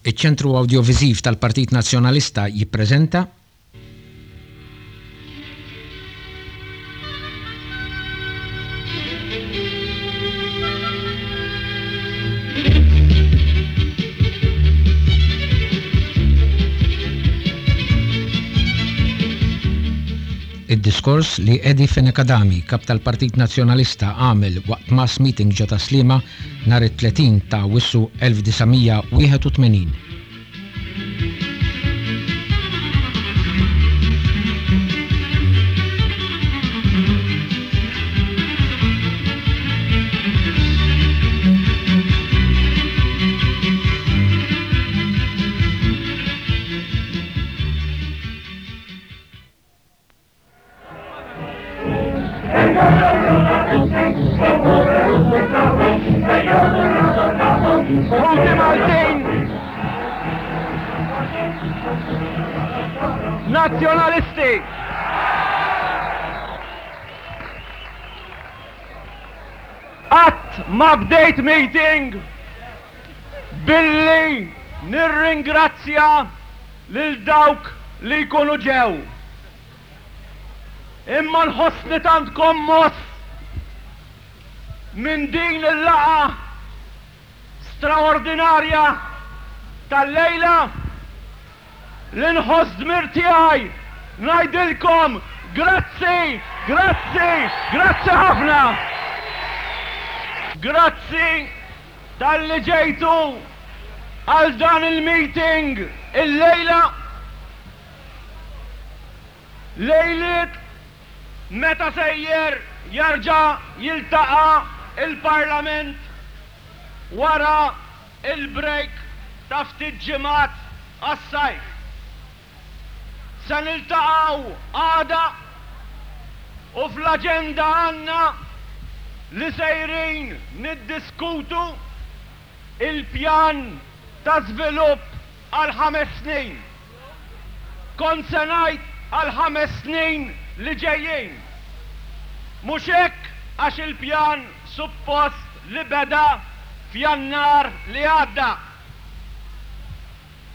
Iċ-Ċentru Awdjoviżiv tal-Partit Nazzjonalista jippreżenta. Id-diskors li Eddie Fenech Adami, Kap tal-Partit Nazzjonalista għamel waqt mass meeting ġo Tas-Sliema nhar it-30 ta' Awwissu 1981. Ħuti Maltin! Nazzjonalisti! Qatt ma bdejt meeting billi nirringrazzja lil dawk li jkunu ġew. Imma nħossni tant kommoss minn din il-laqgħa straordinarja tal-lejla li nħoss dmir tiegħi ngħidilkom grazzi, grazzi, grazzi ħafna! Grazzi talli ġejtu għal dan il-meeting illejla. Lejliet meta sejjer jerġa' jiltaqa' l-Parlament wara l-break ta' ftit ġimgħat għas-sajf. Se niltaqgħu għada u fl-aġenda għandna li sejrin niddiskutu il-pjan ta' żvilupp għal ħames snin. Kont se ngħid għal ħames snin li ġejjin. Mhux hekk għax il-pjan suppost li beda f'Jannar li għadda.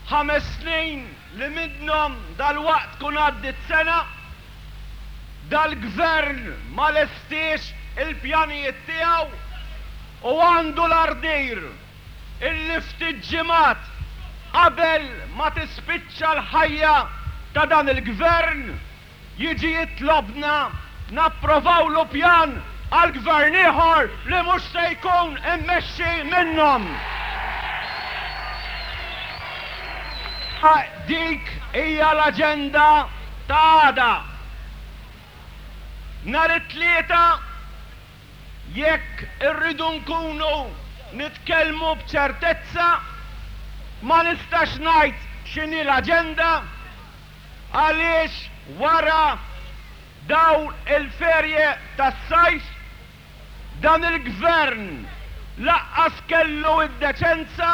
Ħames snin li minnhom dalwaqt tkun għaddiet sena, dal-Gvern ma lestiex il-pjanijiet tiegħu u għandu l-ardir illi ftit ġimgħat qabel ma tispiċċa l-ħajja ta' dan il-Gvern jiġi jitlobna napprovawlu pjan għal Gvern ieħor li mhux se jkun immexxi minnhom. Dik hija l-aġenda ta' għada. Nhar it-Tlieta Jekk irridu nkunu nitkellmu b'ċertezza, ma nistax ngħid x'inhi l-aġenda għaliex wara dawn il-ferje tas-sajf dan il-Gvern laqqas kellu d-deċenza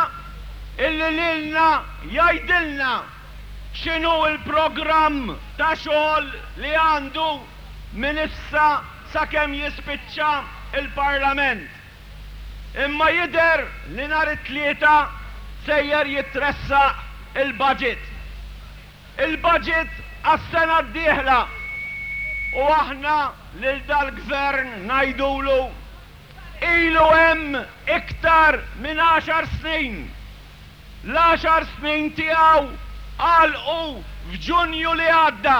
illi lilna jgħidilna x'inhu l-programm ta' xogħol li għandu minn issa sakemm jispiċċa l-Parlament. Imma jidher li nhar it-Tlieta sejjer jitressaq il-budget. Il-budget għas-sena d-dieħla. U aħna lil dal-Gvern ngħidulu, ilu hemm iktar minn għaxar snin. L-għaxar snin tiegħu għalqu f'Ġunju li għadda.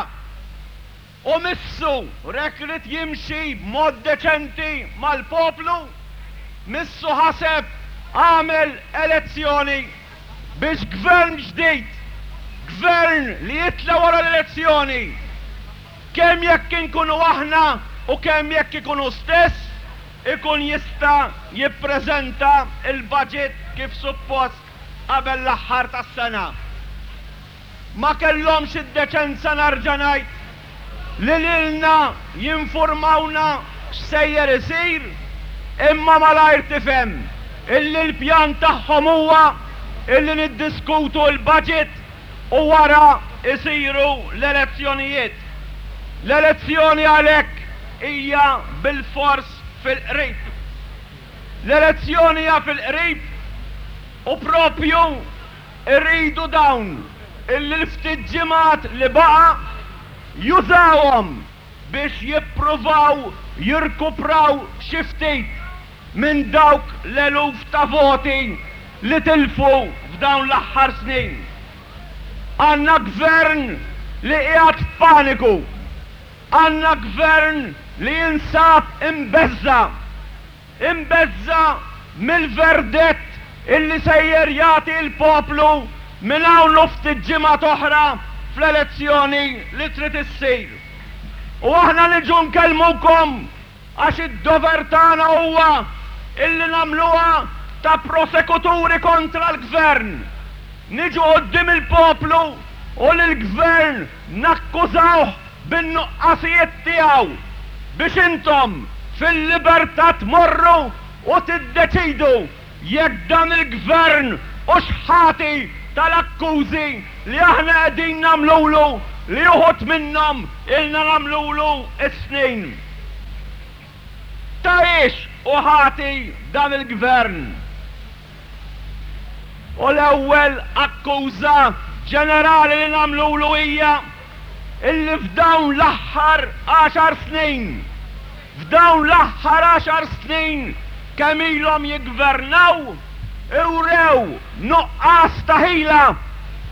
U missu rek ried jimxi b'mod deċenti mal-poplu, missu ħaseb għamel elezzjoni biex gvern ġdid, gvern li jitla' wara l-elezzjoni, kemm jekk inkunu aħna u kemm jekk ikun hu stess, ikun jista' jippreżenta l-budget kif suppost qabel l-aħħar tas-sena. Ma kellhomx id-deċenza narġa' ngħid li lilna jinfurmawna x'sejjer isir imma malajr tifhem illi l-pjan tagħhom huwa illi niddiskutu l-budget u wara jsiru l-elezzjonijiet. L-elezzjoni għalhekk hija bilfors fil-qrib. L-elezzjoni hija fil-qrib u proprju. Iridu dawn illi l-ftit ġimgħat li baqa' jużawhom biex jippruvaw jirkupraw xi ftit minn dawk l-eluf ta' voti li tilfu f'dawn l-aħħar snin. Għandna Gvern li qiegħed f'paniku. Għandna Gvern li jinsab imbeżża'. Imbeżża' mill-verdett illi sejjer jagħti l-poplu minn hawn u ftit ġimgħat oħra fl-elezzjoni li trid issir. U aħna niġu nkellmukom għax id-dover tagħna huwa illi nagħmluha ta' prosekuturi kontra l-Gvern. Niġu quddiem il-poplu u lill-Gvern nakkużawh bin-nuqqasijiet tiegħu biex intom fil-libertà tmorru u tiddeċidu jekk dan il-Gvern hux ħati tal-akkużi li aħna qegħdin nagħmlulu li uħud minnhom ilna nagħmlulu s-snin. Ta' hiex hu ħati dan il-Gvern? U l-ewwel akkuża ġenerali li nagħmlulu hija illi f'dawn l-aħħar għaxar snin, f'dawn l-aħħar għaxar snin kemm ilhom jiggvernaw, urew nuqqas ta' ħila,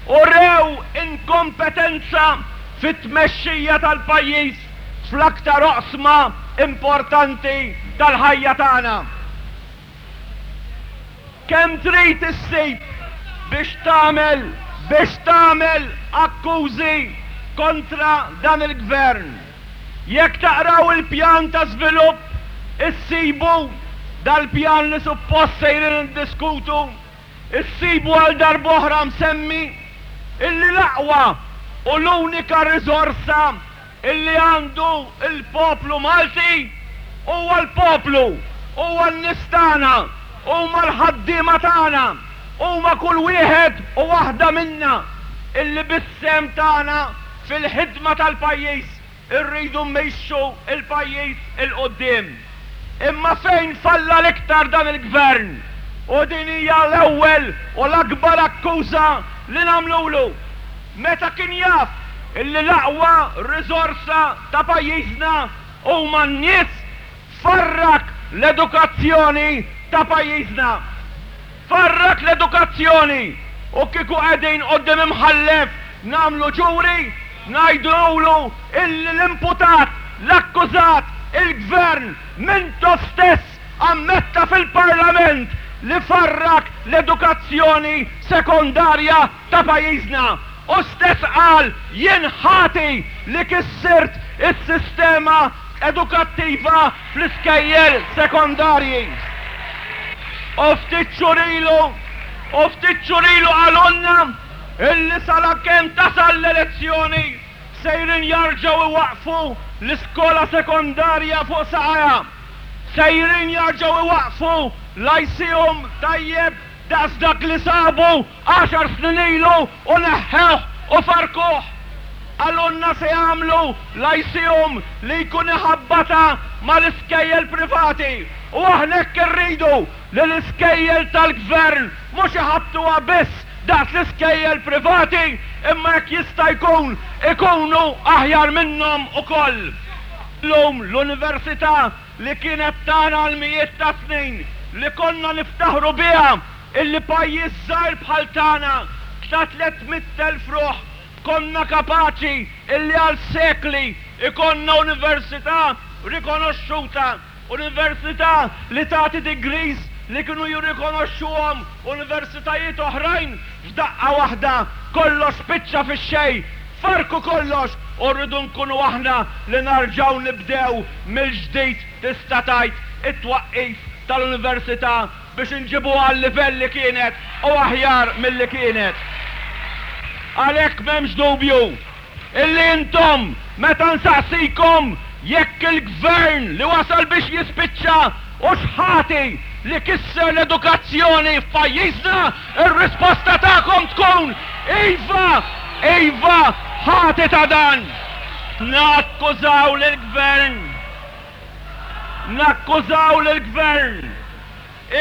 urew inkompetenza fit-tmexxija tal-pajjiż fl-aktar oqsma importanti tal-ħajja tagħna. Kemm trid issib biex tagħmel biex tagħmel akkużi kontra dan il-Gvern? Jekk taqraw il-pjan ta' żvilupp issibu, dal-pjan li suppost sejrin niddiskutu, issibu għal darb'oħra msemmi illi l-aqwa u l-unika riżorsa illi għandu l-poplu Malti huwa l-poplu, huwa n-nies tagħna, huma l-ħaddiema tagħna, huma kull wieħed u waħda minna illi bis-sehem tagħna fil-ħidma tal-pajjiż irridu mmexxu l-pajjiż 'il quddiem. Imma fejn falla l-iktar dan il-Gvern, u din hija l-ewwel u l-akbar akkuża li nagħmlulu, Meta kien jaf illi l-aqwa riżorsa ta' pajjiżna huma n-nies, farrak l-edukazzjoni ta' pajjiżna. Farrak l-edukazzjoni u kieku qegħdin quddiem imħallef nagħmlu ġuri, ngħidulu illi l-imputat, l-akkużat, il-Gvern, Mintoff stess ammetta fil-Parlament li farrak l-edukazzjoni sekondarja ta' pajjiżna. Hu stess qal jien ħati li kissirt is-sistema edukattiva fl-iskejjel sekondarji. U ftit xhur ilu, u ftit xhur ilu qalulna illi salakemm tasal l-elezzjoni sejrin jarġgħu iwaqqfu l-iskola sekondarja fuq saqajha. Sejrin jarġgħu iwaqqfu lyceum tajjeb daqs dak li sabu għaxar snin ilu u neħħewh u farrkuh. Qalulna se jagħmlu lyceum li jkun iħabbatha mal-iskejjel privati u aħna hekk irridu li l-iskejjel tal-Gvern mhux iħabbtuha biss daqs l-iskejjel privati imma jekk jista' jkun ikunu aħjar minnhom ukoll. Illum l-Università li kienet tagħna għal mijiet ta' snin, li konna niftaħru biha illi pajjiż żgħir bħal tagħna ta' 300,000 ruħ konna kapaċi illi għal sekli jkollna università rikonoxxuta, università li tagħti degrees li kienu jirrikonoxxuhom universitajiet oħrajn, f'daqqa waħda kollox spiċċa fix-xejn, farrku kollox u rridu nkunu aħna li narġgħu nibdew mill-ġdid tista' tgħid it-twaqqif tal-università biex inġibuha għal-livell li kienet u aħjar milli kienet. Għalhekk m'hemmx dubju illi intom meta nsaqsikom jekk il-Gvern li wasal biex jispiċċa hux ħati li kisser l-edukazzjoni f'pajjiżna, ir-risposta tagħkom tkun iva, iva, ħati ta' dan. Nakkużaw lill-Gvern, nakkużaw lill-Gvern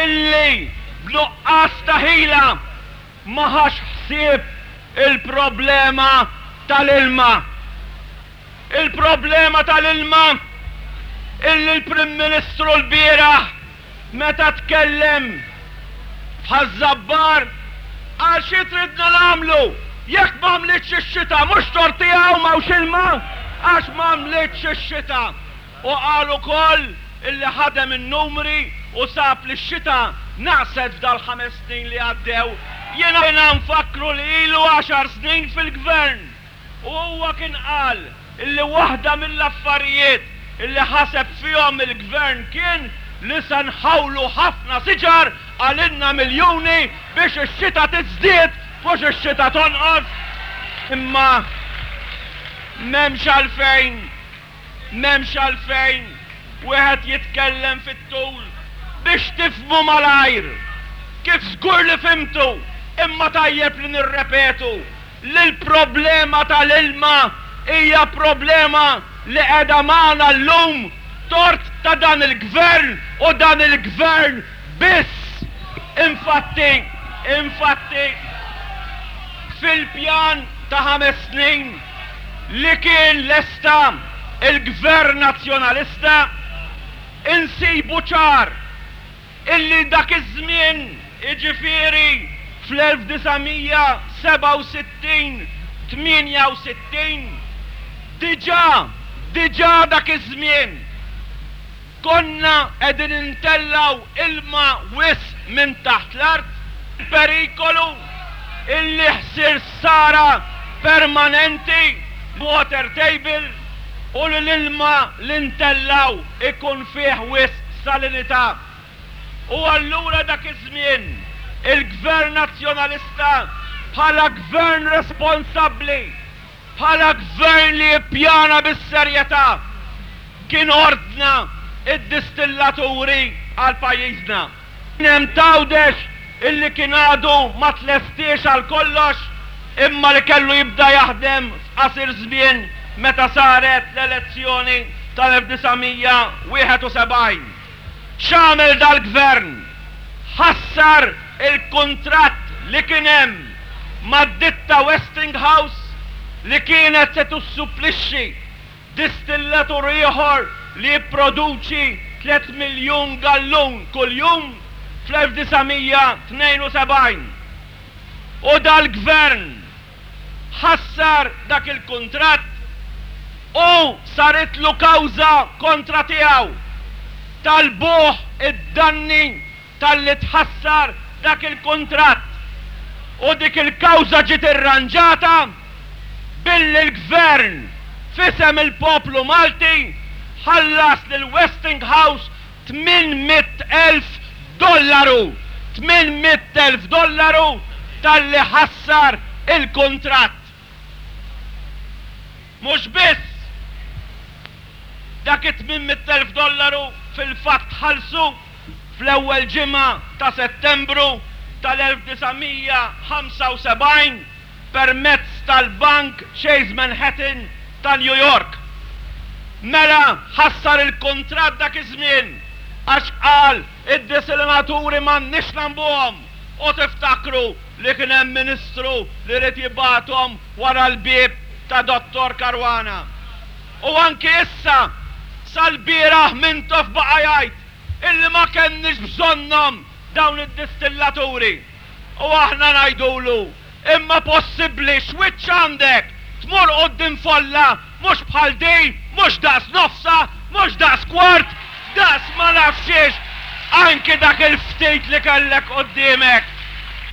illi b'nuqqas ta' ħila. ma ħax ħsieb il-problema tal-ilma. Il-problema tal-ilma illi l-Prim Ministru lbieraħ meta tkellem f'Ħaż-Żabbar qal xi tridna nagħmlu jekk m'għamlitx ix-xita, mhux tort tiegħu m'hawnx ilma għax m'għamlitx ix-xita. U qal ukoll illi ħadem in-numri u sab li x-xita naqset f'dal-ħames snin li għaddew. Jiena nfakkru li ilu għaxar snin fil-Gvern u huwa kien qal illi waħda mill-affarijiet illi ħaseb fihom il-Gvern kien li se nħawlu ħafna siġar qalilna miljuni biex ix-xita tiżdied mhux ix-xita tonqos. Imma m'hemmx għalfejn M'hemmx għalfejn wieħed jitkellem fit-tul biex tifhmu malajr, kif żgur li fhimtu, imma tajjeb li nirrepetu, li l-problema tal-ilma hija problema li qiegħda magħna llum tort ta' dan il-Gvern u dan il-Gvern biss. Infatti, infatti, fil-pjan ta' ħames snin, li kien lesta l-Gvern Nazzjonalista, insibu ċar illi dak iż-żmien, jiġifieri fl-1967, 68, diġà, diġà dak iż-żmien, Konna qegħdin intellgħu ilma wisq minn taħt l-art, perikolu illi ħsir ħsara permanenti water table u li l-ilma li ntellgħu ikun fih wisq salinità. U allura dak iż-żmien il-Gvern Nazzjonalista bħala Gvern responsabbli, Bħala gvern li jippjana bis-serjetà, kien ordna d-distillaturi għal pajjiżna. Kien hemm t'Għawdex illi kien għadu ma tlestiex għal kollox imma li kellu jibda jaħdem f'qasir żmien meta saret l-elezzjoni tal-1971. X'għamel dal-gvern? Ħassar il-kuntratt li kien hemm mad-ditta Westinghouse li kienet se tussupplixxi distillatur ieħor li jipproduċi tlett miljun gallun kuljum fl-1972. U dal-gvern ħassar dak il-kuntratt u saritlu kawża kontra tiegħu. Talbuh id-danni talli tħassar dak il-kuntratt u dik il-kawża ġiet irranġata billi l-Gvern f'isem il-poplu Malti ħallas lil Westinghouse 800,000 dollaru, 800,000 dollaru talli ħassar il-kuntratt. Mhux biss dak it-800,000 dollaru fil-fatt tħallsu fl-ewwel ġimgħa ta' Settembru tal-1975 permezz tal-Bank Chase Manhattan ta' New York. Mela ħassar il-kuntratt dak iż-żmien għax qal id-desalinaturi m'għandniex nagħmbuhom u tiftakru li kien hemm Ministru li ried jibgħathom wara l-bieb ta' Dottor Caruana. U anki issa, sal-bieraħ Mintoff baqa' jgħid illi ma kellniex bżonnhom dawn id-distillaturi. U aħna ngħidulu, imma possibbli x'wiċċ għandek tmur quddiem folla mhux bħal din, mhux daqs nofsha, mhux daqs kwart, daqs ma nafx xiex, anki dak il-ftit li kellek quddiemek.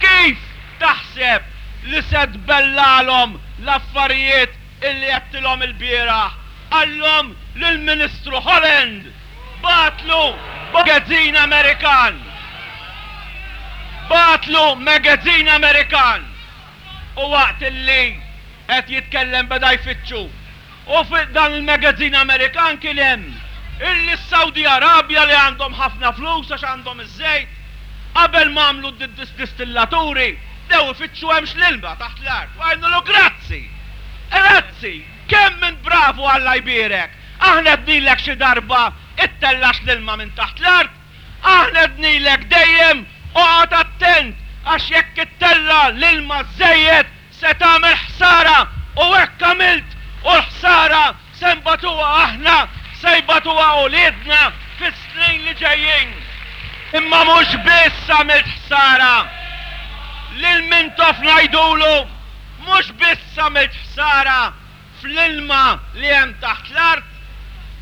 Kif taħseb li se tbellalhom l-affarijiet illi għedtilhom ilbieraħ? Qallhom lill-Ministru Holland bagħatlu magazine Amerikan. Bagħatlu magazine Amerikan u waqt illi qed jitkellem beda jfittxu. U fi dan il-magazine Amerikan kien hemm illi s-Saudi Arabia li għandhom ħafna flus għax għandhom iż-żejt, qabel ma għamlu d-distillaturi bdew ifittxu hemmx l-ilma taħt l-art. U għidnulu grazzi! Grazzi! Kemm int bravu Alla jbierek! Aħna għednilek xi darba ittellax l-ilma minn taħt l-art? Aħna għednilek dejjem oqgħod attent! Għax jekk ittella' l-ilma żżejjed se tagħmel ħsara u hekk għamilt u l-ħsara se nbatuha aħna, se jbatuha uliedna fis-snin li ġejjin. Imma mhux biss għamilt ħsara. Lil Mintoff ngħidulu, mhux biss għamilt ħsara fl-ilma li hemm taħt l-art,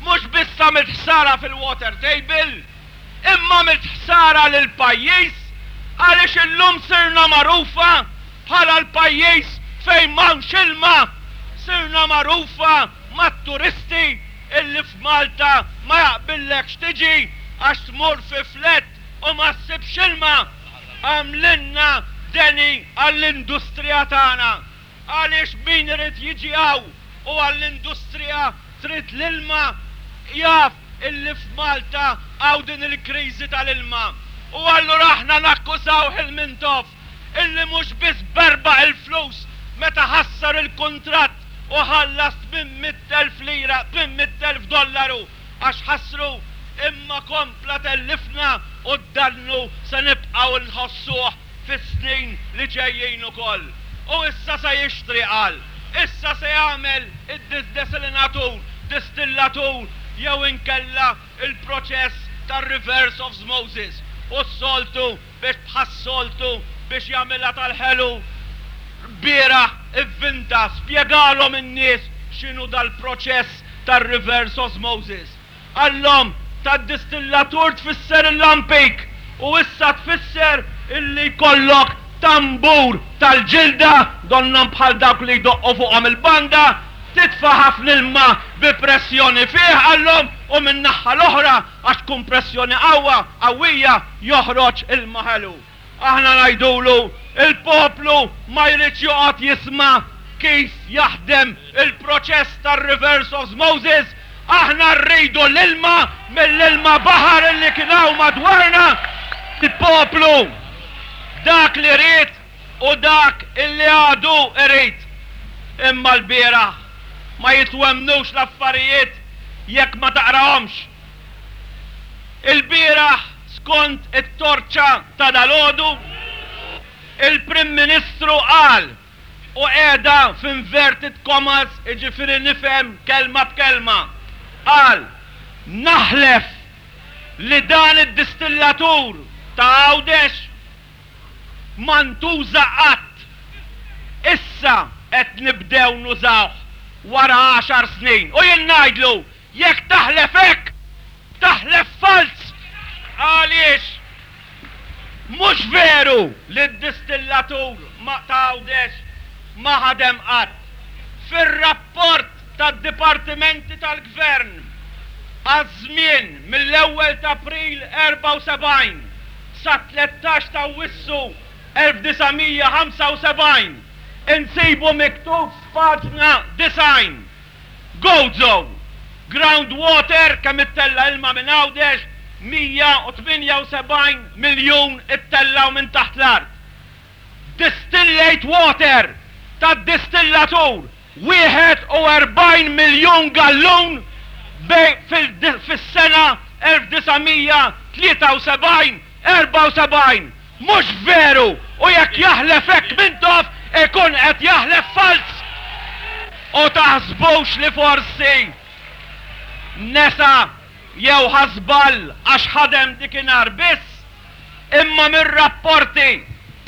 mhux biss għamilt ħsara fil-water table, imma għamilt ħsara lill-pajjiż għaliex illum sirna magħrufa bħala l-pajjiż fejn m'hawnx ilma, sirna magħrufa mat-turisti illi f'Malta ma jaqbillekx tiġi għax tmur fi flat u ma ssibx ilma. Għamlilna deni għall-industrija tagħna. Għaliex min irid jiġi hawn u għall-industrija trid l-ilma jaf illi f'Malta hawn din il-kriżi tal-ilma. U allura aħna nakkużawh il-Mintoff illi mhux biss berbaq il-flus meta ħassar il-kuntratt u ħallas 800,000 lira, 800,000 dollaru għax ħassru imma kompla tellifna u d-dannu se nibqgħu nħossuh fis-snin li ġejjin ukoll. U issa se jixtri, qal. Issa se jagħmel id-desalinatur, distillatur jew inkella l-proċess tar-reverse osmosis. U s-soltu biex bħas-soltu biex jagħmilha tal-ħelu, lbieraħ ivvinta, spjegalhom in-nies x'inhu dal-proċess tar-reverse osmosis. Qallhom, tad-distillatur tfisser il-lampik u issa tfisser illi jkollok tambur tal-ġilda, donnhom bħal dawk li jdoqqu fuqhom il-banda, titfa' ħafna ilma bi pressjoni fih, qallhom, u min-naħha l-oħra, għax tkun pressjoni qawwa, qawwija, joħroġ ilma ħelu. Aħna ngħidulu, il-poplu ma jridx joqgħod jisma' kif jaħdem il-proċess tar-reverse osmosis, aħna rridu l-ilma mill-ilma baħar illi kien hawn madwarna. Il-poplu dak li ried u dak illi għadu irid. Imma lbieraħ ma jitwemmnux l-affarijiet jekk ma taqrahomx. Ilbieraħ skont it-Torċa ta' dalgħodu, il-Prim Ministru qal, u qiegħda f'inverted commas jiġifieri nifhem kelma b'kelma, qal, Naħlef li dan id-distillatur ta' Għawdex ma ntuża qatt. Issa qed nibdew nużawh wara għaxar snin. U jien ngħidlu, jekk taħlef hekk, Taħlef falz! Għaliex mhux veru li d-distillatur ta' Għawdex ma ħadem qatt. Fir-rapport tad-dipartimenti tal-Gvern għaż-żmien mill-ewwel t'April 74 sat-13 t'Awwissu 1975 insibu miktub f'paġna 90 Gozo, Ground water kemm ittella' ilma minn Għawdex, 178 miljun ittellgħu minn taħt l-art. Distillate water tad-distillatur, 41 miljun gallun fis-sena 1973, 74. Mhux veru! U jekk jaħlef hekk Mintoff ikun qed jaħlef falz! U taħsbux li forsi nesa jew ħa żball għax ħadem dikinhar biss, imma mir-rapporti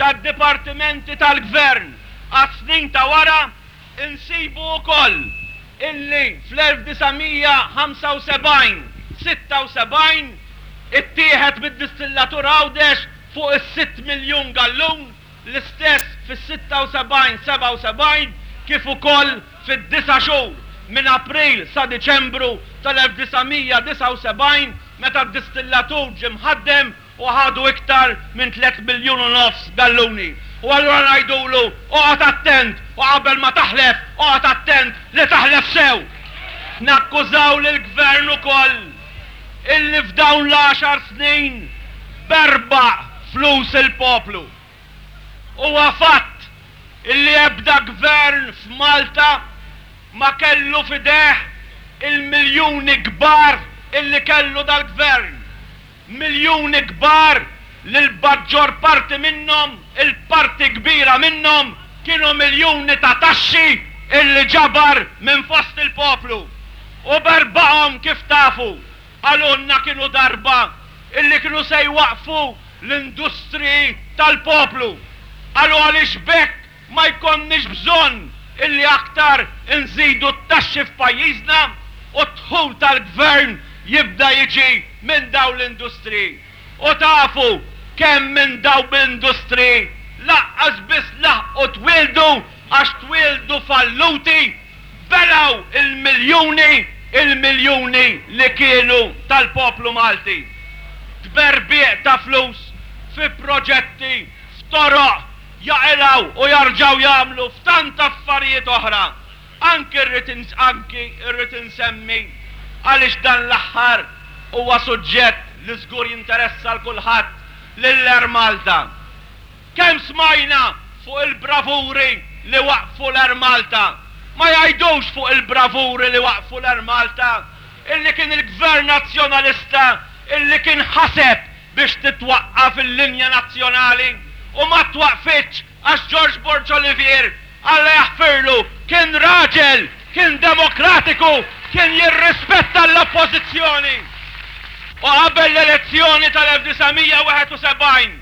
tad-dipartimenti tal-Gvern għas-snin ta' wara insibu wkoll illi fl-1975, 76 ittieħed mid-distillatur Għawdex fuq is-sitt miljun gallun, l-istess fis-76, 77 kif ukoll fid-disa' xhur minn April sa Diċembru tal-1979 meta d-distillatur ġie mħaddem u ħadu iktar minn 3.5 miljun galluni. U allura ngħidulu, oqgħod attent u qabel ma taħlef, oqgħod attent li taħlef sew! Nakkużaw lill-Gvern ukoll illi f'dawn l-għaxar snin berbaq flus il-poplu. Huwa fatt illi ebda Gvern f'Malta ma kellu f'idejh il-miljuni kbar illi kellu dal-Gvern. Miljuni kbar li l-maġġor parti minnhom Il-parti kbira minnhom kienu miljuni ta' taxxi illi ġabar minn fost il-poplu. U berbaqhom kif tafu, qalulna kienu darba illi kienu se jwaqqfu l-industriji tal-poplu. Qalu għaliex b'hekk ma jkollniex bżonn illi aktar inżidu t-taxxi f'pajjiżna u d-dħul tal-Gvern jibda jiġi minn dawn l-industriji. U tafu kemm minn dawn l-industriji laqqas biss laħqu twieldu għax twieldu falluti, belgħu l-miljuni, il-miljuni li kienu tal-poplu Malti. Tberbiq ta' flus fi proġetti, f'toroq, jaqilgħu u jarġgħu jagħmlu f'tant affarijiet oħra. Anki rrid anki rrid insemmi għaliex dan l-aħħar huwa suġġett li żgur jinteressa 'l kulħadd lill-Air Malta. Kemm smajna fuq il-bravuri li waqqfu l-Air Malta. Ma jgħidux fuq il-bravuri li waqqfu l-Air Malta illi kien il-Gvern Nazzjonalista illi kien ħaseb biex titwaqqaf il-linja nazzjonali u ma twaqqfitx għax George Borg Olivier, Alla jaħfirlu, kien raġel, kien demokratiku, kien jirrispetta l-oppożizzjoni. U qabel l-elezzjoni tal-1971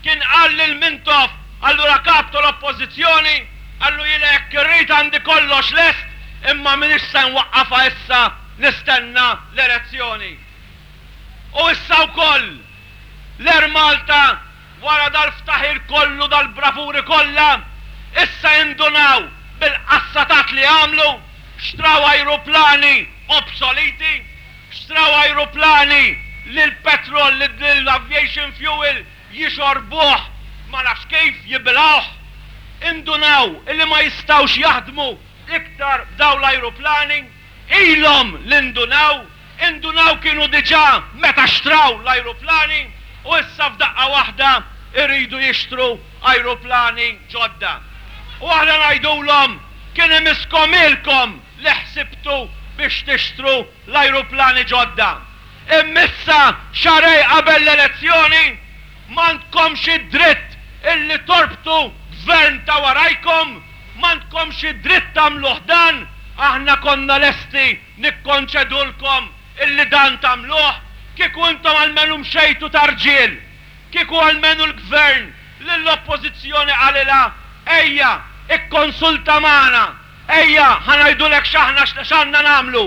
kien qal lil Mintoff, allura kap tal-oppożizzjoni, qallu jiena jekk irrid għandi kollox lest imma m'iniex se nwaqqafha issa nistenna l-elezzjoni. U issa wkoll, l-Air Malta wara dal-ftaħir kollu, dal-bravuri kollha, issa indunaw bil-qassatat li għamlu, xtraw ajruplani obsoliti, xtraw ajruplani li l-petrol, li l-aviation fuel jixorbuh ma nafx kif, jibilgħuh. Indunaw li ma jistgħux jaħdmu iktar b'dawn l-ajruplani. Ilhom li ndunaw, indunaw kienu diġà meta xtraw l-ajruplani u issa f'daqqa waħda jridu jixtru ajruplani ġodda. U aħna ngħidulhom kien imisskom ilkom li ħsibtu biex tixtru l-ajruplani ġodda. Imma issa xahrejn qabel l-elezzjoni m'għandkomx id-dritt illi torbtu gvern ta' warajkom M'għandkomx id-dritt tagħmluh dan, aħna konna lesti nikkonċedulkom illi dan tagħmluh, kieku intom almenu mxejtu ta' rġiel, kieku almenu l-Gvern lill-Oppożizzjoni qalilha ejja ikkonsulta magħna, ejja ħa ngħidulek x'aħna x'għandna nagħmlu,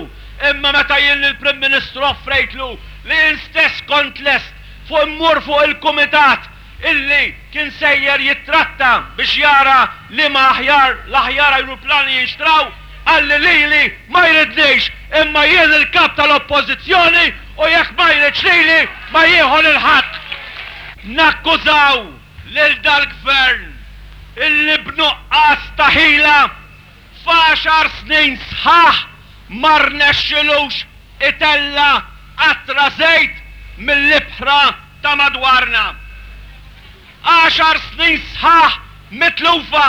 imma meta jien lill-Prim Ministru offrejtlu li jien stess kont lest fuq immur fuq il-Kumitat illi kien sejjer jittratta biex jara liema aħjar l-aħjar ajruplani jinxtraw, qalli lili ma jridnix imma jien il-Kap tal-Oppożizzjoni u jekk ma jridx lili ma jieħu lil ħadd. Nakkużaw lil dal-Gvern illi b'nuqqas ta' ħila f'għaxar snin sħaħ ma rnexxilux itella' qatra żejt mill-ibħra ta' madwarna. Għaxar snin sħaħ mitlufa!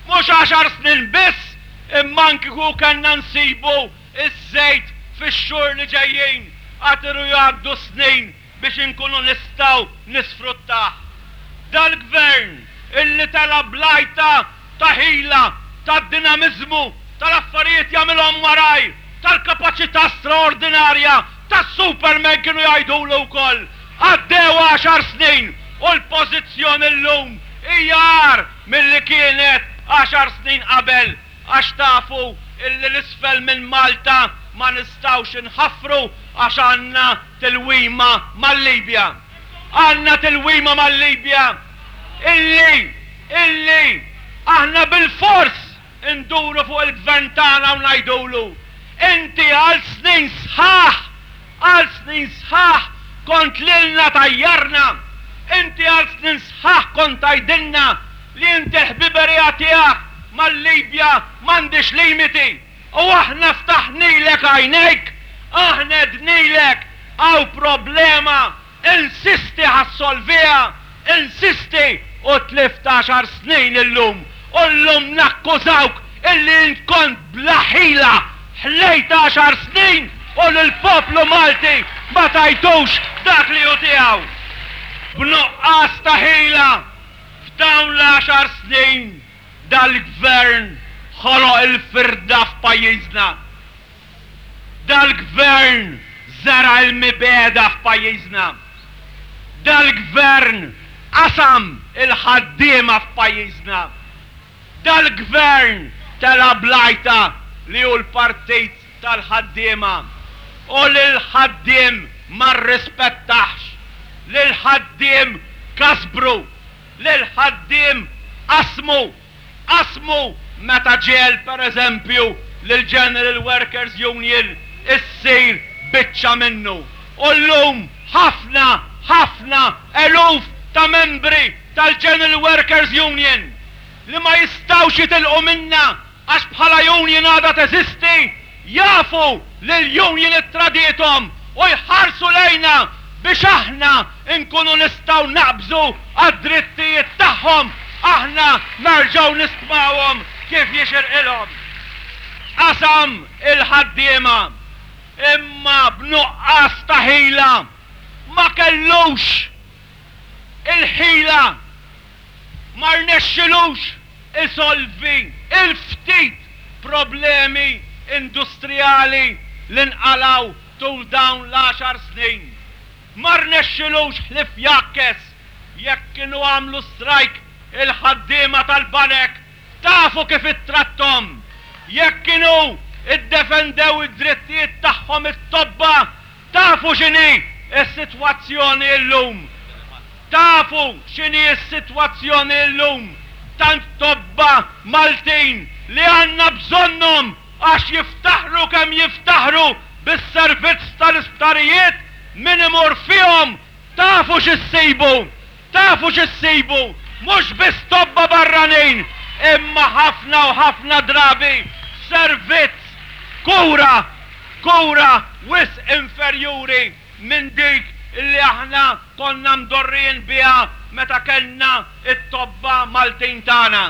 Mhux għaxar snin biss, imma anki kieku kellna nsibu ż-żejt fix-xhur li ġejjin, għad iridu jgħaddu snin biex inkunu nistgħu nisfruttah. Dal-Gvern illi tela' bl-għajta ta' ħila, ta' dinamiżmu, tal-affarijiet jagħmilhom malajr, tal-kapaċità straordinarja, tas-Superman kienu jgħidulu wkoll. Għaddew għaxar snin u l-pożizzjoni llum hija agħar milli kienet għaxar snin qabel għax tafu illi 'l isfel minn Malta ma nistgħux inħaffru għax għandna tilwima mal-Libja. Għandna tilwima mal-Libja illi, illi aħna bilfors induru fuq il-Gvern tagħna u ngħidulu, inti għal snin sħaħ, għal snin sħaħ kont lilna tgħajjarna, inti għal snin sħaħ kont tgħidilna li inti l-ħbiberija tiegħek mal-Libja m'għandhiex limiti. U aħna ftaħnilek għajnejk, aħna għednilek hawn problema, insisti ħa ssolviha, insisti u tlift għaxar snin illum u llum nakkużawk illi int kont bla ħila, ħlejt għaxar snin u lill-poplu Malti ma tajtux dak li hu tiegħu. B'nuqqas ta' ħila. F'dawn l-għaxar snin dal-Gvern ħoloq il-firda f'pajjiżna. Dal-Gvern żera' l-mibegħda f'pajjiżna. Dal-Gvern qasam il-ħaddiema f'pajjiżna. Dal-Gvern tela' bl-għajta li hu l-partit tal-ħaddiema u lill-ħaddiem ma rrispettahx, lill-ħaddiem kasbru, lill-ħaddiem qasmu, qasmu meta ġiegħel per eżempju lill-General Workers Union issir biċċa minnu. U llum ħafna, ħafna eluf ta' membri tal-General Workers Union li ma jistgħux jitilqu minnha għax bħala union għadha teżisti, jafu li l-union ittradiethom u jħarsu lejna biex aħna nkunu nistgħu naqbżu għad-drittijiet tagħhom, aħna nerġgħu nistmawhom kif jixirqilhom. Qasam il-ħaddiema, imma b'nuqqas ta' ħila ma kellux il-ħila, ma rnexxilux isolvi l-ftit problemi industrijali li nqalgħu tul dawn l-għaxar snin. Ma rnexxilux ħlief jgħakkes jekk kienu għamlu strajk il-ħaddiema tal-banek, tafu kif ittratthom. Jekk kienu ddefendew id-drittijiet tagħhom it-tobba, Tafu x'inhi s-sitwazzjoni llum? Tafu x'inhi s-sitwazzjoni llum? Tant tobba Maltin li għandna bżonnhom għax jiftaħru kemm jiftaħru bis-servizz tal-isptarijiet, min imur fihom tafu x'issibu? Tafu x'issibu? Mhux biss tobba barranin, imma ħafna u ħafna drabi servizz, kura, kura wisq inferjuri minn dik li aħna konna mdorrijin biha meta kellna t-tobba Maltin tagħna.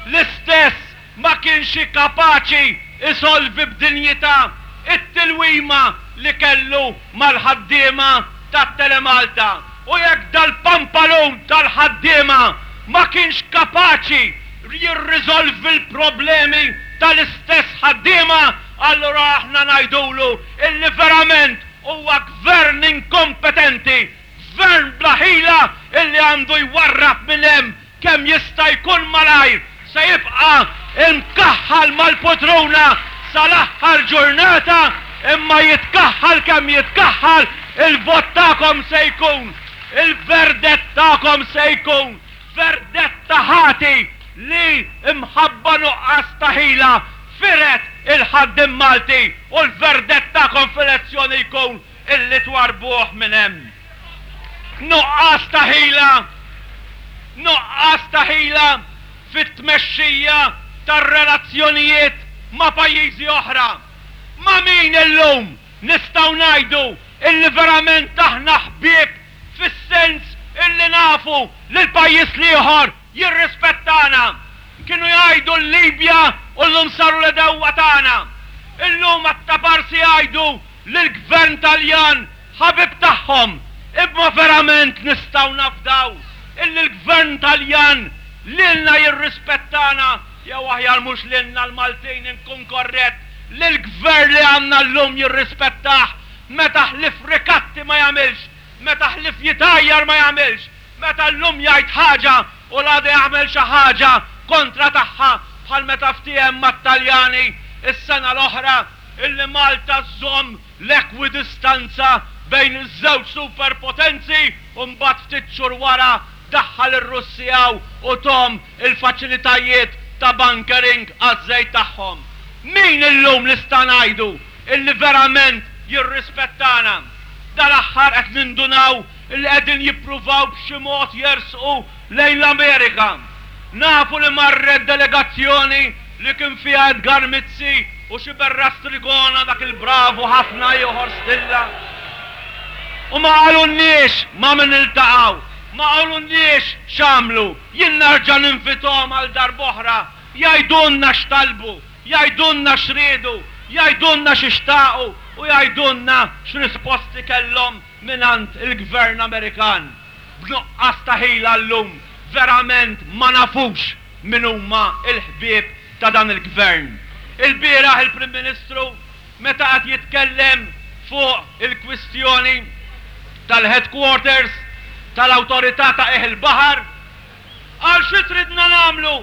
L-istess ma kienx kapaċi jsolvi b'dinjità t-tilwima li kellu mal-ħaddiema tat-Telemalta u jekk dal-pampalun tal-ħaddiema ma kienx kapaċi jirriżolvi l-problemi tal-istess ħaddiema allura aħna ngħidulu illi verament huwa gvern inkompetenti, gvern bla ħila illi għandu jwarrab minn hemm Kemm jista' jkun malajr se jibqa' imkaħħal mal-putruna sal-aħħar ġurnata, imma jitkaħħal kemm jitkaħħal, il-vot tagħkom se jkun, il-verdett tagħkom se jkun verdett ta' ħati li mħabba nuqqas ta' ħila fired il-ħaddiem Malti u l-verdett tagħkom f'elezzjoni jkun illi twarrbuh minn hemm. Nuqqas ta' ħila, nuqqas ta' ħila fit-tmexxija tar-relazzjonijiet ma' pajjiżi oħra. Ma' min illum nistgħu ngħidu illi verament aħna ħbieb fis-sens illi nafu li l-pajjiż l-ieħor jirrispettana. Kienu jgħidu l-Libja u llum saru l-għedewwa tagħna. Illum għat-taparsi jgħidu li l-gvern Taljan ħabib tagħhom, imma verament nistgħu nafdaw illi l-gvern Taljan lilna jirrispettana, jew aħjar mhux lilna l-Maltin inkun korrett, lill-gvern li għandna llum jirrispettah meta ħlief rikatti ma jagħmilx, meta ħlief jitgħajjar ma jagħmilx, meta llum jgħid ħaġa u l-għada jagħmel xi ħaġa kontra tagħha bħal meta ftiehem mat-Taljani s-sena l-oħra illi Malta żżomm l-ekwidistanza bejn iż-żewġ superpotenzi u mbagħad ftit xhur wara daħħal ir-Russi hawn u thom il-faċilitajiet ta' bunkering għaż-żejt tagħhom. Min illum nista' ngħidu illi verament jirrispettana? Dal-aħħar qed nindunaw illi qegħdin jippruvaw b'xi mod jersqu lejn l-Amerika. Nafu li marret delegazzjoni li kien fiha Edgar Mizzi u xi Berra Strigona dak il-bravu ħafna ieħor stilla. U ma qalulniex ma' min iltaqgħu, ma qalulniex x'għamlu. Jien nerġa' ninvithom għal darb'oħra jgħidulna x'talbu, jgħidulna x'riedu, jgħidulna xi xtaqu u jgħidulna x'risposti kellhom mingħand il-Gvern Amerikan. B'nuqqas ta' ħila llum. Verament ma nafux min huma l-ħbieb ta' dan il-Gvern. Ilbieraħ il-Prim Ministru meta qed jitkellem fuq il-kwistjoni tal-headquarters tal-Awtorità ta' Qiegħ il-Baħar, qal xi tridna nagħmlu?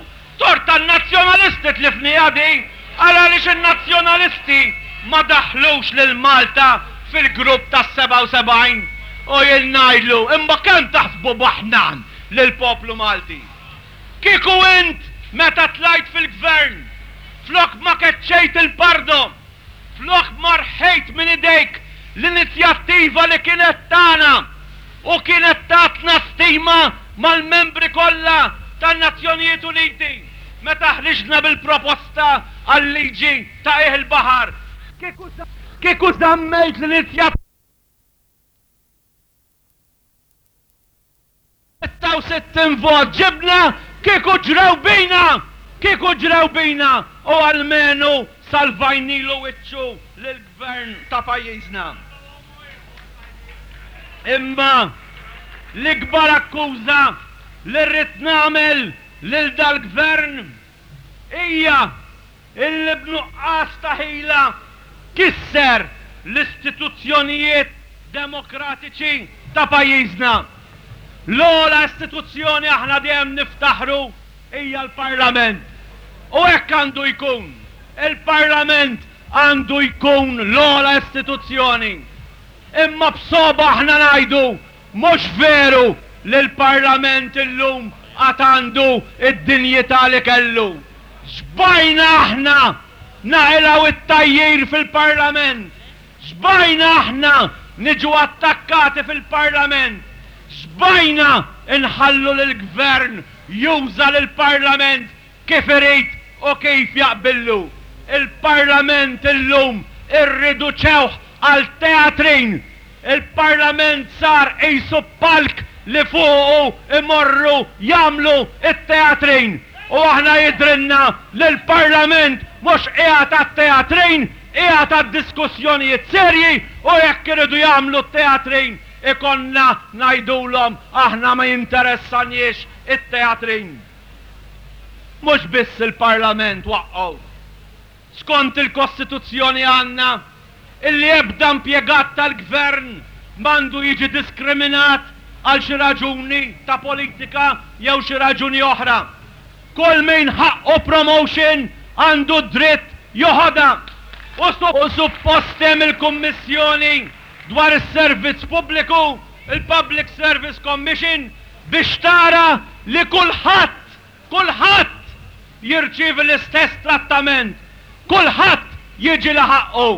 Tort tan-Nazzjonalisti tlifniha din, qal għaliex in-Nazzjonalisti ma daħħlux lil Malta fil-grupp tas-77 u jien ngħidlu imma kemm taħsbu baħnan lill-poplu Malti. Kieku int meta tlajt fil-Gvern flok ma keċċejt il-Pardo, Flok ma rħejt minn idejk l-inizjattiva li kienet tagħna u kienet tatna stima mal-membri kollha tan-Nazzjonijiet Uniti meta ħriġna bil-proposta għal-liġi ta' qiegħ il-baħar, kieku żammejt l-inizjattiva. 66 vot ġibna kieku ġrew bina! Kieku ġrew bina u almenu salvajnilu wiċċu lill-Gvern ta' pajjiżna. Imma l-ikbar akkuża li rrid nagħmel lil dal-Gvern hija illi b'nuqqas ta' ħila kisser l-istituzzjonijiet demokratiċi ta' pajjiżna. L-ogħla istituzzjoni aħna dejjem niftaħru hija l-Parlament. U hekk għandu jkun. Il-Parlament għandu jkun l-ogħla istituzzjoni. Imma b'sogħba aħna ngħidu mhux veru li l-Parlament illum għad għandu d-dinjità li kellu. Xbajna aħna naqilgħu t-tgħajjir fil-Parlament. Xbajna aħna niġu attakkati fil-Parlament. Xbajna nħallu lill-Gvern juża lill-Parlament kif irid u kif jaqbillu. Il-Parlament illum irriduċewh għal teatrin. Il-Parlament sar qisu palk li fuqu jmorru jagħmlu t-teatrin. U aħna jidhrilna li l-Parlament mhux qiegħed għat-teatrin, qiegħed għad-diskussjonijiet serji u jekk iridu jagħmlu t-teatrin ikollna ngħidulhom aħna ma jinteressanniex it-teatrin. Mhux biss il-Parlament waqqgħu. Skont il-Kostituzzjoni għandna illi ebda impjegat tal-Gvern m'għandu jiġi diskriminat għal xi raġuni ta' politika jew xi raġuni oħra. Kull min ħaqqu promotion għandu d-dritt joħodha. U suppost hemm il-Kummissjoni dwar is-Servizz Pubbliku, il-Public Service Commission, biex tara li kulħadd, kulħadd jirċievi l-istess trattament, kulħadd jiġi li ħaqqu.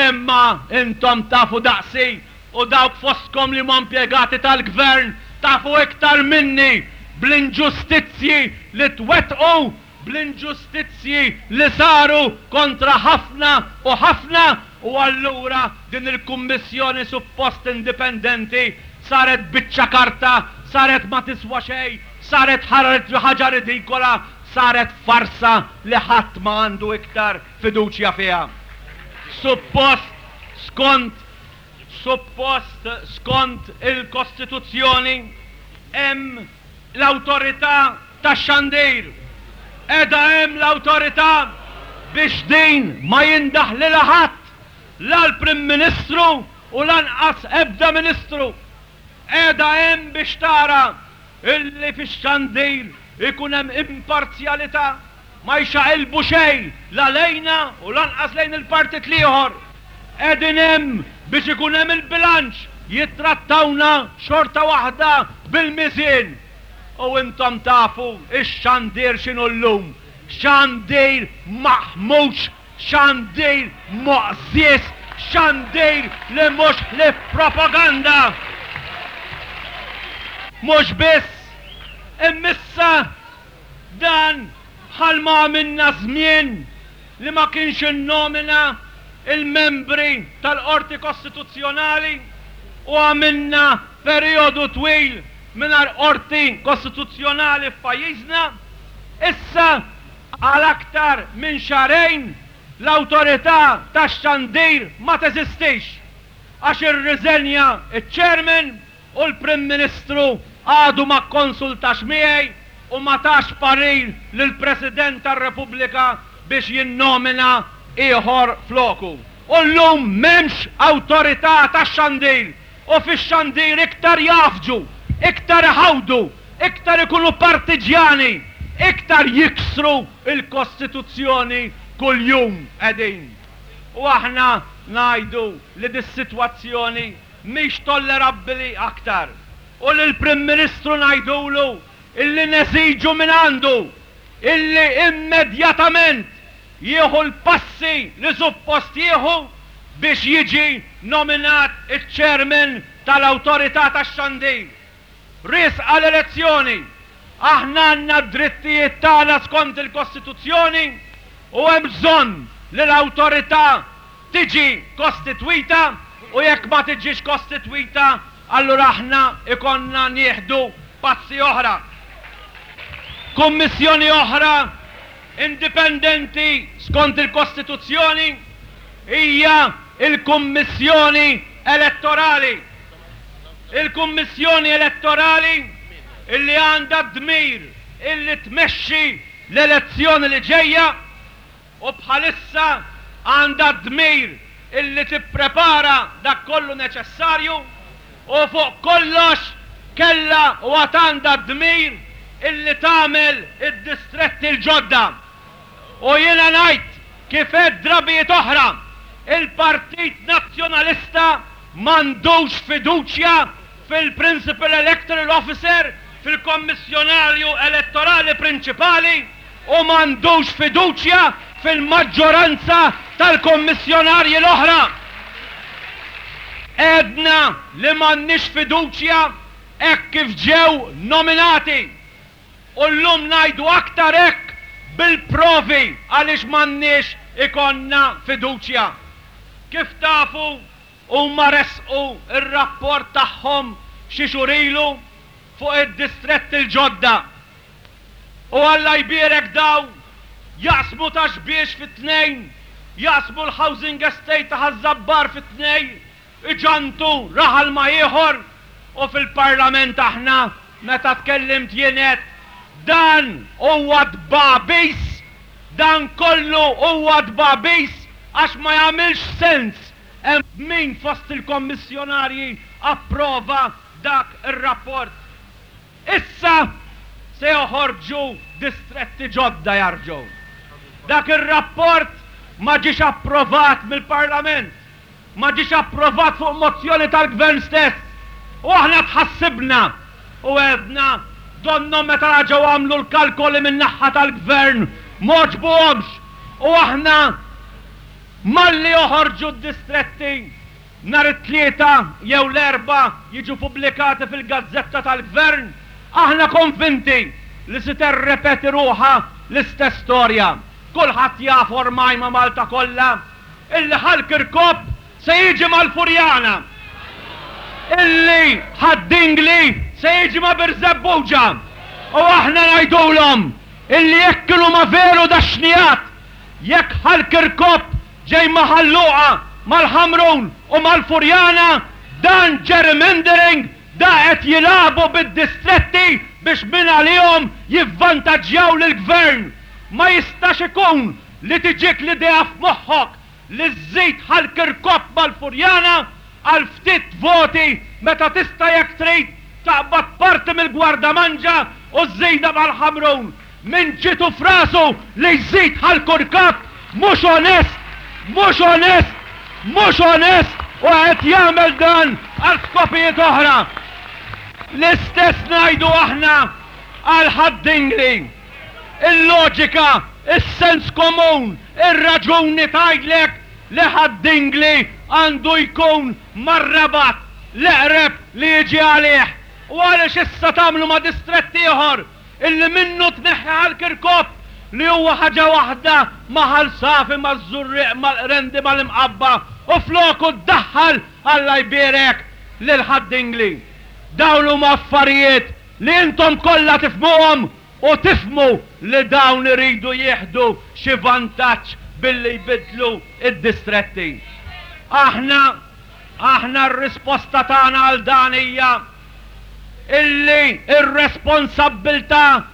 Imma intom tafu daqsi u dawk fostkom li huma impjegati tal-Gvern tafu iktar minni bl-inġustizzji li twettqu, bl-inġustizzji li saru kontra ħafna u ħafna u allura din il-Kummissjoni suppost indipendenti saret biċċa karta, saret ma tiswa xejn, saret ħaġa ridikola, saret farsa li ħadd ma għandu iktar fiduċja fiha. Suppost skont suppost skont il-Kostituzzjoni hemm l-Awtorità tax-Xandir. Qiegħda hemm l-Awtorità biex din ma jindaħlilha ħadd, la l-Prim Ministru u lanqas ebda Ministru. Qiegħda hemm biex tara illi fix-xandir ikun hemm imparzjalità, ma jxaqilbu xejn la lejna u lanqas lejn il-partit l-ieħor. Qegħdin hemm biex ikun hemm il-bilanċ, jittrattawna xorta waħda bil-miżien. U intom tafu x-xandir x'inhu llum, xandir maħmuġ Xandir moqżież, xandir li mhux ħlief propaganda. Mhux biss, imma issa dan bħalma għamilna żmien li ma kienx innomina l-membri tal-Qorti Kostituzzjonali u għamilna perijodu twil mingħajr Qorti Kostituzzjonali f'pajjiżna, issa Għal aktar minn xahrejn l-Awtorità tax-Xandir ma teżistix għax irriżenja ċ-Chairman u l-Prim Ministru għadu ma kkonsultax miegħi u ma tax parir lill-President tar-Repubblika biex jinnomina ieħor floku. U llum m'hemmx awtorità tax-xandir u fix-xandir iktar jgħaffġu, iktar iħawdu, iktar ikunu partiġjani, iktar jiksru l-Kostituzzjoni kuljum qegħdin. U aħna ngħidu li dis-sitwazzjoni mhix tollerabbili aktar. U lill-Prim Ministru ngħidulu illi neżiġu mingħandu illi immedjatament jieħu l-passi li suppost jieħu biex jiġi nominat iċ-Chairman tal-Awtorità tax-Xandir. Riesqa l-elezzjoni. Aħna għandna d-drittijiet tagħna skont il-Kostituzzjoni u hemm bżonn li l-Awtorità tiġi kostitwita u jekk ma tiġix kostitwita allura aħna jkollna nieħdu passi oħra. Kummissjoni oħra indipendenti skont il-Kostituzzjoni hija l-Kummissjoni Elettorali. Il-Kummissjoni Elettorali illi għandha d-dmir illi tmexxi l-elezzjoni li ġejja u bħalissa għandha d-dmir illi tipprepara dak kollu neċessarju u fuq kollox kellha u għad għandha d-dmir illi tagħmel id-distretti l-ġodda. U jiena ngħid, kif għedt drabijiet oħra, il-Partit Nazzjonalista m'għandux fiduċja fil-Principal Electoral Officer, fil-Kommissjonarju Elettorali Prinċipali u m'għandux fiduċja fil-maġġoranza tal-Kommissjonarji l-oħra. Għedna li m'għandniex fiduċja hekk kif ġew nominati. U llum ngħidu aktar hekk bil-provi għaliex m'għandniex ikollna fiduċja. Kif tafu, huma ressqu r-rapport tagħhom xi xhur ilu fuq id-distretti l-ġodda. U Alla jbierek daw jaqsmu Ta' Xbiex fi tnejn, jaqsmu l-housing estate ta' Ħaż-Żabbar fi tnejn, iġantu raħal ma' ieħor u fil-Parlament aħna meta tkellimt jien għedt dan huwa tbagħbis, dan kollu huwa tbagħbis għax ma jagħmilx sens hemm min fost il-kommissjonarji approva dak ir-rapport. Issa se joħorġu distretti ġodda jarġgħu. Dak ir-rapport ma ġiex approvat mill-Parlament. Ma ġiex approvat fuq mozzjoni tal-Gvern stess. U aħna tħassibna u għedna donnhom meta reġgħu għamlu l-kalkoli min-naħha tal-Gvern m'għoġbuhomx u aħna malli joħorġu d-distretti nhar it-Tlieta jew l-Erbgħa jiġu pubblikati fil-gazzetta tal-Gvern, aħna konvinti li se terrepeti ruħha l-istess storja. Kulħadd jaf ormai ma' Malta kollha Illi Ħal Kirkop se jiġi mal-Furjana. Illi Ħad-Dingli se jiġi ma' Birżebbuġa. U aħna ngħidulhom illi jekk kienu ma veru dax-xnigħat, jekk Ħal Kirkop ġej ma' Ħal Luqa, mal-Ħamrun u mal-Furjana, dan gerrymandering, da qed jilagħbu bid-distretti biex mingħalihom jivvantaġġjaw lill-Gvern. Ma jistax ikun Li tiġik l-idea f'moħħok li żżid Ħal Kirkop mal-Furjana għal ftit voti meta tista' jekk trid taqbad parti mill-Gwardamanġa u żżidha mal-Ħamrun. Min ġietu f'rasu li jżid Ħal Kurkap mhux onest, mhux onest, mhux onest u qed jagħmel dan għal skopijiet oħra. L-istess ngħidu aħna għal Ħad-Dingli. Il-loġika, is-sens komun, ir-raġuni tgħidlek li Ħad-Dingli għandu jkun mar-Rabat, l-eqreb li jiġi għalih. U għaliex issa tagħmlu ma' distrett ieħor illi minnu tneħħi Ħal Kirkop li huwa ħaġa waħda ma' Ħal Safi, maż-Żurrieq, mal-Qrendi, mal-Imqabba u floku ddaħħal, Alla jbierek, lil Ħad-Dingli. Dawn huma affarijiet li intom kollha tifhmuhom u tifhmu li dawn iridu jieħdu xi vantaġġ billi jbiddlu d-distretti. Aħna, aħna r-risposta tagħna għal dan hija. illi r-responsabbiltà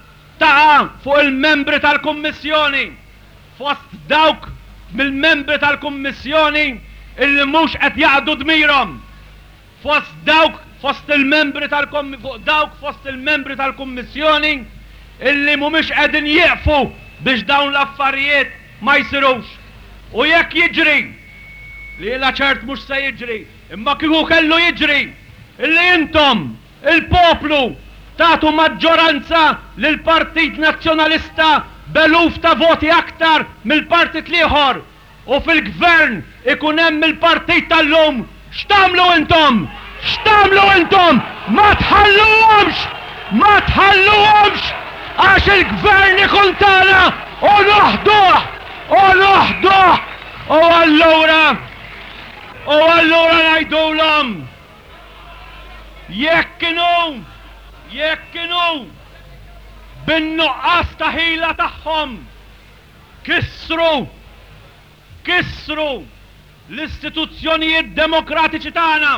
taqa' fuq il-membri tal-Kummissjoni, fost dawk mill-membri tal-Kummissjoni illi mhux qed jaqdu dmirhom, fost dawk fost il-membri tal fuq dawk fost il-membri tal-Kummissjoni illi mhumiex qegħdin jieqfu biex dawn l-affarijiet ma jsirux. U jekk jiġri, li jiena ċert mhux se jiġri, imma kieku kellu jiġri, illi intom, il-poplu, tagħtu maġġoranza lill-Partit Nazzjonalista b'eluf ta' voti aktar mill-partit l-ieħor, U fil-gvern ikun hemm il-partit tal-lum, x'tagħmlu intom? X'tagħmlu intom? Ma tħalluhomx! Ma tħalluhomx! Għax il-gvern ikun tagħna u noħduh! U noħduh! U allura, u allura ngħidulhom, jekk inhu, jekk inhu, bin-nuqqas ta' ħila tagħhom, Kissru! Kissru l-istituzzjonijiet demokratiċi tagħna!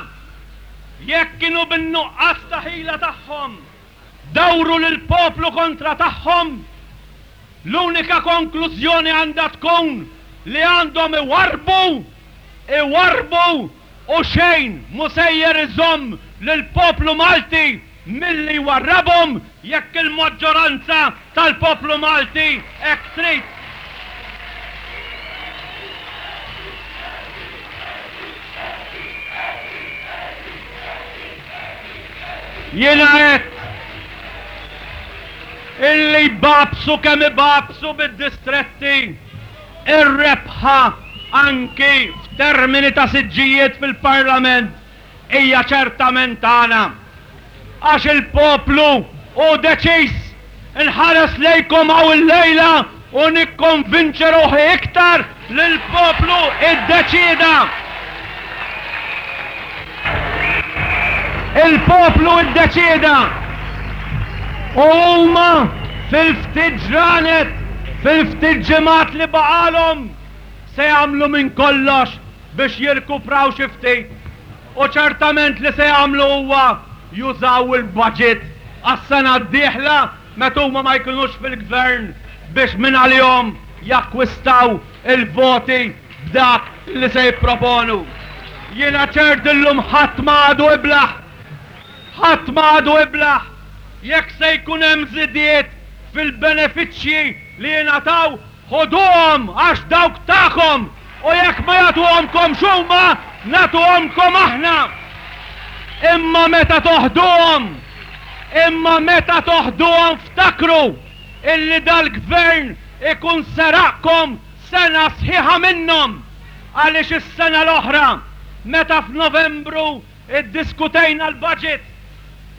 Jekk kienu bin-nuqqas ta' ħila tagħhom dawru lill-poplu kontra tagħhom, l-unika konklużjoni għandha tkun li għandhom iwarrbu, iwarrbu u xejn mhu sejjer iżomm lill-poplu Malti milli jwarrabhom jekk il-maġġoranza tal-poplu Malti hekk trid. Jiena għedt illi jbagħbsu kemm ibagħbsu bid-distretti, ir-rebħa anki f'termini ta' siġġijiet fil-Parlament hija ċertament tagħna. Għax il-poplu hu deċiż. Inħares lejkom hawn illejla u nikkonvinċi ruħi iktar li l-poplu iddeċieda. Il-poplu iddeċieda. U huma fil-ftit ġranet, fil-ftit ġimgħat li baqgħalhom se jagħmlu minn kollox biex jirkupraw xi ftit u ċertament li se jagħmlu huwa jużaw il-baġit għas-sena d-dieħla meta huma ma jkunux fil-gvern biex mingħalihom jakkwistaw il-voti b'dak li se jipproponu. Jiena ċert illum ħadd ma għadu iblah. Ħadd ma għadu iblah jekk se jkun hemm żidiet fil-benefiċċji li jingħataw Ħuduhom għax dawk tagħkom u jekk ma jagħtuhomkomx huma, nagħtuhomkom aħna. Imma meta toħduhom, imma meta toħduhom ftakru illi dal-Gvern ikun seraqkom sena sħiħa minnhom għaliex is-sena l-oħra meta f'Novembru Iddiskutejna l-budget.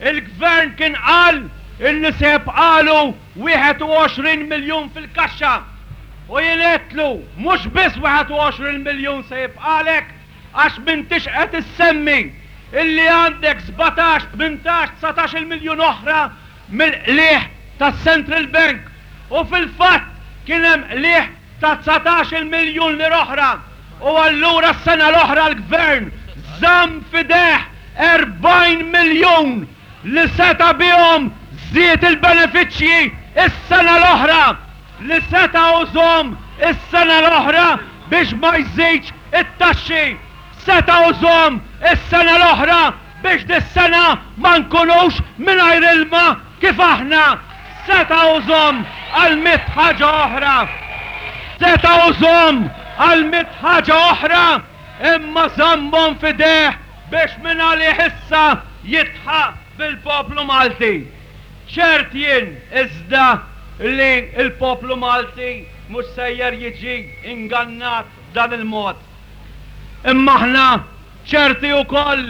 Il-Gvern kien qal illi se jibqagħlu 21 miljun fil-kaxxa. U jien għedtlu, mhux biss 21 miljun se jibqagħlek għax m'intix qed issemmi illi għandek sbatax, tmintax, dsatax-il miljun oħra mill-qligħ tas-Central Bank. U fil-fatt kien hemm qligħ ta' 19-il miljun lira oħra u allura s-sena l-oħra l-Gvern żamm f'idejh 40 miljun li seta' bihom żied il-benefiċċji s-sena l-oħra, li seta' użhom is-sena l-oħra biex ma jżidx it-taxxi, seta' użhom is-sena l-oħra biex dis-sena ma nkunux mingħajr ilma kif aħna, seta' użhom għal mitt ħaġa oħra. Seta' użhom għal mitt ħaġa oħra imma żammhom f'idejh biex mingħalih issa jidħaq bil-poplu Malti. Ċert jien iżda li l-poplu Malti mhux sejjer jiġi ingannat b'dan il-mod. Imma aħna ċerti ukoll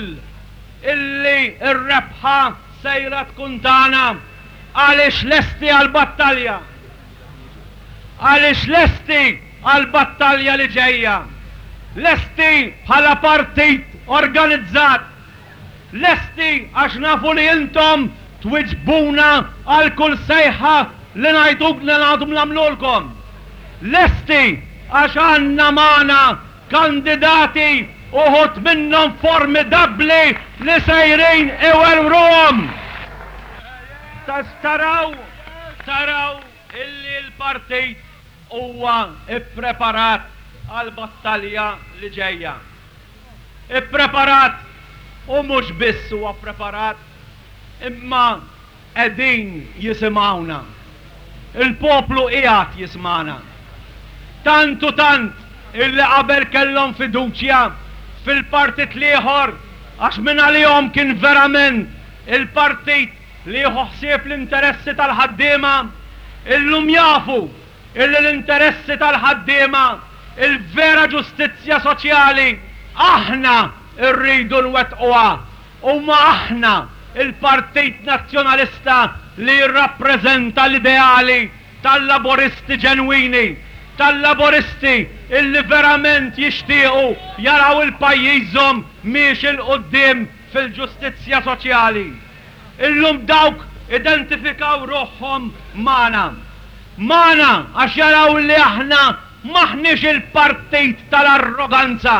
illi r-rebħa sejra tkun tagħna għaliex lesti għall-battalja. Għaliex lesti għall-battalja li ġejja. Lesti bħala partit organizzat. Lesti għax nafu li intom twiġbuna għal kull sejħa li ngħidu li ngħadhom nagħmlulkom. Lesti għax għandna magħna Kandidati, uħud minnhom formidabbli li sejrin iwerwruhom. Taraw, taraw illi l-partit huwa ppreparat għall-battalja li ġejja. Ippreparat u mhux biss huwa ppreparat imma qegħdin jisimgħuna. Il-poplu qiegħed jismagħna. Tant u tant illi qabel kellhom fiduċja fil-partit l-ieħor għax mingħalihom kien verament il-partit li jieħu ħsieb l-interessi tal-ħaddiema, illum jafu illi l-interessi tal-ħaddiema, il-vera ġustizzja soċjali, aħna rridu nwettquha. Huma aħna, il-Partit Nazzjonalista li jirrappreżenta l-ideali tal-Laburisti ġenwini, tal-Laburisti illi verament jixtiequ jaraw il-pajjiżhom miexi 'l quddiem fil-ġustizzja soċjali. Illum dawk identifikaw ruħhom magħna. Magħna għax jaraw li aħna m'aħniex il-partit tal-arroganza.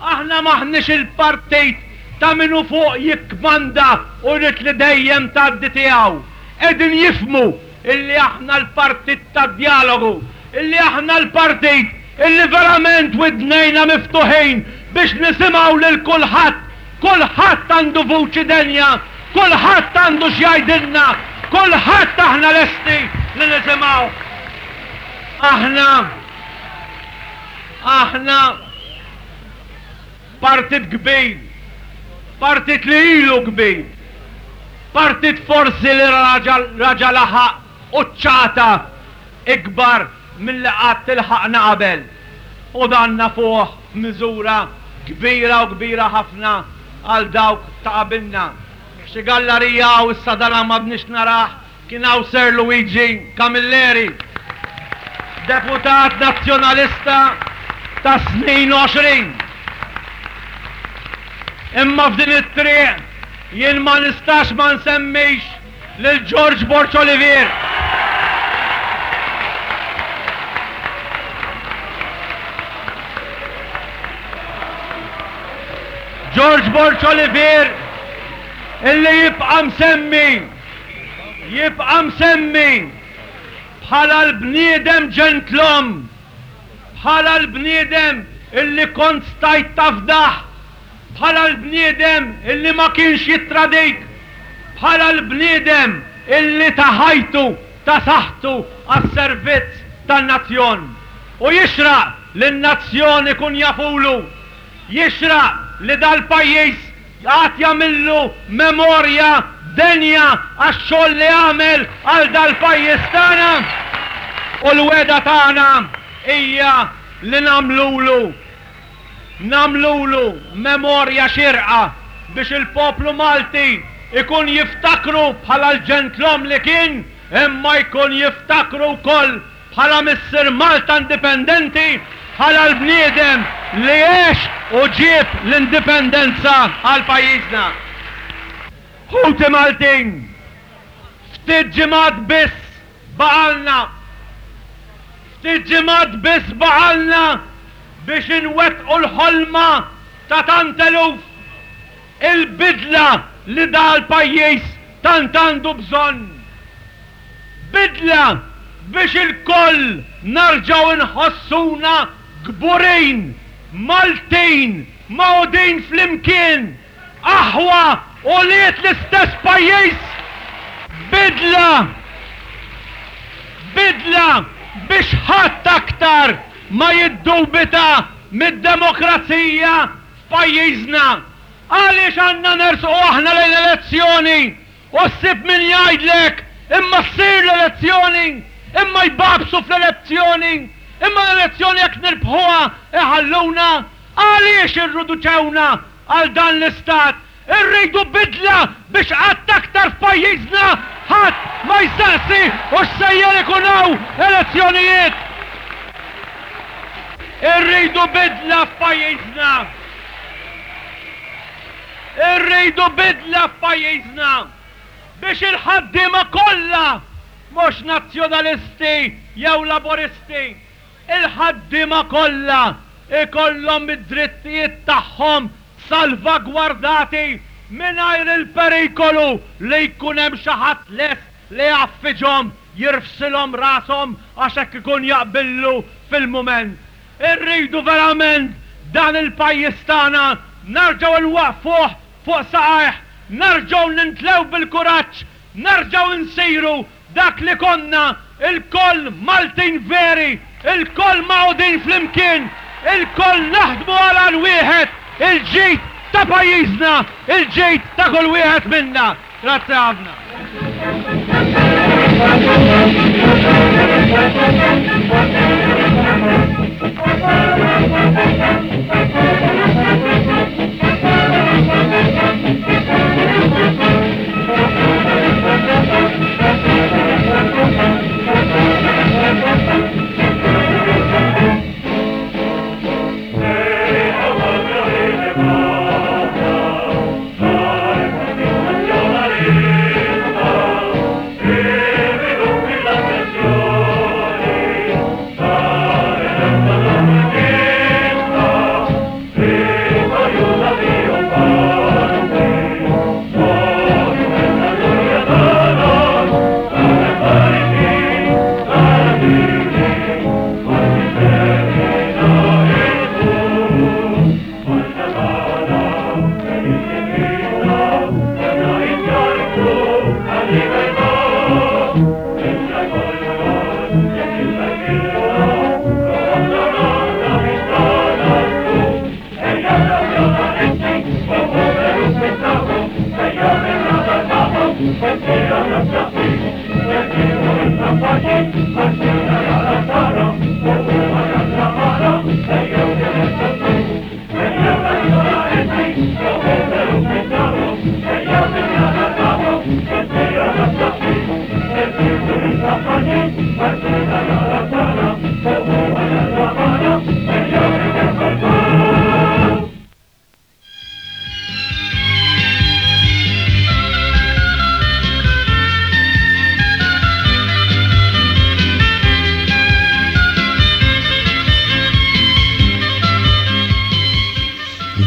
Aħna m'aħniex il-partit ta' min hu fuq jikkmanda u jrid li dejjem tgħaddi tiegħu. Qegħdin jifhmu illi aħna l-partit tad-djalogu, illi aħna l-partit illi verament widnejna miftuħin biex nisimgħu lil kulħadd, kulħadd għandu vuċi denja, kulħadd għandu x'jgħidilna, kulħadd aħna lesti li nisimgħuh. Aħna, aħna partit kbir, partit li ilu kbir, partit forsi li raġa' laħaq quċċata ikbar milli qatt ilħaqna qabel. U dan nafuh f'miżura kbira u kbira ħafna għal dawk ta' qabilna. F'xi gallarija hawn issa dan m'għadniex narah, Kien hawn Sir Luigi Camilleri, deputat Nazzjonalista tas-snin 20. Imma f'din it-triq jien ma nistax ma nsemmix lil George Borg Olivier. George Borg Olivier illi jibqa' msemmi Jibqa' msemmi bħala l-bniedem ġentlom, bħala l-bniedem illi kont stajt tafdah, bħala l-bniedem illi ma kienx jittradik, bħala l-bniedem illi ta ħajtu, ta saħħtu għas-servizz tan-nazzjon. U jixraq li n-nazzjon ikun jafulu. Jixraq li dal-pajjiż Għad jagħmillu memorja denja għax-xogħol li għamel għal dal-pajjiż tagħna u l-wegħda tagħna hija li nagħmlulu nagħmlulu memorja xierqa biex il-poplu Malti jkun jiftakru bħala l-ġentlom li kien imma jkun jiftakru wkoll Bħala missier Malta indipendenti, bħala l-bniedem li għex u ġieb l-indipendenza għal pajjiżna. Ħuti Maltin, ftit ġimgħat biss baqgħalna, ftit ġimgħat biss baqgħalna biex inwettqu l-ħolma ta' tant eluf, il-bidla li dal-pajjiż tant għandu bżonn. Bidla biex ilkoll narġgħu nħossuna kburin, Maltin, magħqudin flimkien, aħwa, ulied l-istess pajjiż. Bidla, bidla biex ħadd aktar ma jiddubita mid-demokrazija f'pajjiżna. Għaliex għandna nersqu aħna lejn elezzjoni U ssib min jgħidlek, imma ssir l-elezzjoni, imma jbagħbsu fl-elezzjoni, imma l-elezzjoni jekk nirbħuha iħalluna. Għaliex irriduċewna għal dan l-istat? Irridu bidla biex qatt aktar f'pajjiżna ħadd ma jsaqsi hux sejjer ikun hawn elezzjonijiet. Irridu bidla f'pajjiżna. Irridu bidla f'pajjiżna biex il-ħaddiema kollha, mhux Nazzjonalisti jew Laburisti, il-ħaddiema kollha jkollhom id-drittijiet tagħhom salvagwardati mingħajr il-perikolu li jkun hemm xi ħadd lest. li jgħaffiġhom, jirfsilhom rashom għax hekk ikun jaqbillu fil-mument. Irridu verament dan il-pajjiż tagħna nerġgħu nwaqqfuh fuq saqajh, nerġgħu nintlew bil-kuraġġ, nerġgħu nsiru dak li konna, ilkoll Maltin veri, ilkoll magħqudin flimkien, ilkoll naħdmu għal għan wieħed, il-ġid ta' pajjiżna, il-ġid ta' kull wieħed minna. Grazzi ħafna.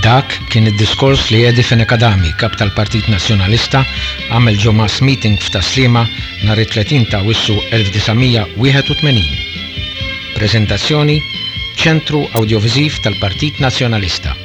Dak kien id-diskors li Eddie Fenech Adami, Kap tal-Partit Nazzjonalista, għamel ġo mass meeting f'Tas-Sliema nhar it-30 ta' Awwissu 1981. Preżentazzjoni, Ċentru Awdjoviżiv tal-Partit Nazzjonalista.